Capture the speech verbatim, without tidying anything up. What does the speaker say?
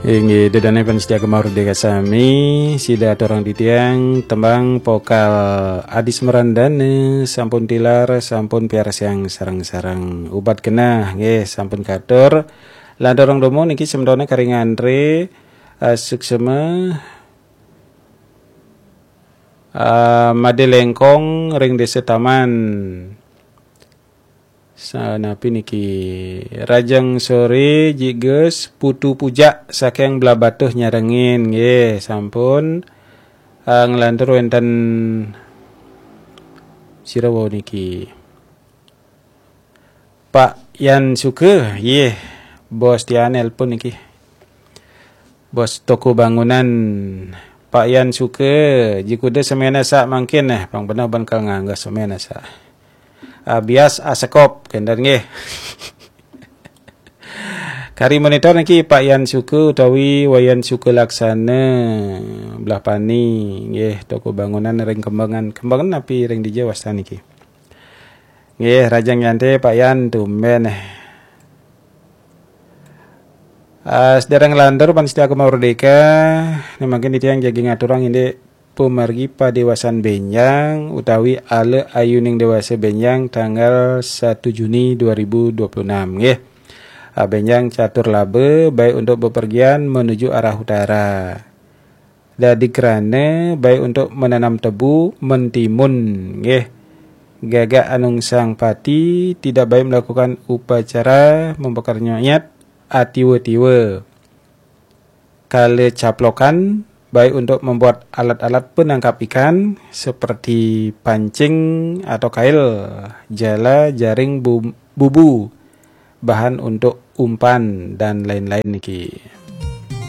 Inggih, ida dané pamiarsa Gema Merdeka sami, sida aturang titiang tembang vokal Adis Merandane, sampun tilar, sampun piarsiang sareng-sareng. Ubat genah, nggih, sampun katur. Lanturang dumun niki sementone kari ngantre, eh, suksema, eh, Made Lengkong ring Desa Taman. Sanapi niki, Rajang Sore, Jiges, Putu Pujak saking Blahbatuh nyarengin, nggih, sampun, eh, nglantur wenten sira wau niki. Pak Yan Suke, nggih, bos tiang nelpon niki. Bos toko bangunan, Pak Yan Suke, jikuda semena sak mangkin, eh, pang beneh ban kal nganggo semena sak. Ah, bias asekop, kenten nggih. Kari monitor niki Pak Yan Suke utawi Wayan Suke Laksana, Blahpani, nggih, toko bangunan ring Kembangan. Kembangan napi ring dija wastan niki? Nggih, Rajang Yante, Pak Yan, tumben, eh. Ah, sedereng lantur pamiarsa Gema Merdeka, ne mangkin titiang jagi ngaturang indik pamargi padewasan benjang utawi ala ayuning dewasa benjang tanggal satu Juni dua ribu dua puluh enam, nggih. Ah, benjang catur laba, baik untuk bepergian menuju arah utara. Dadi krana baik untuk menanam tebu, mentimun, nggih. Gagak anungsang pati tidak baik melakukan upacara membakar nyonyat, atiwa-tiwa. Kala caplokan, baik untuk membuat alat-alat penangkap ikan seperti pancing atau kail, jala, jaring, bu-, bubu, bahan untuk umpan, dan lain-lain niki.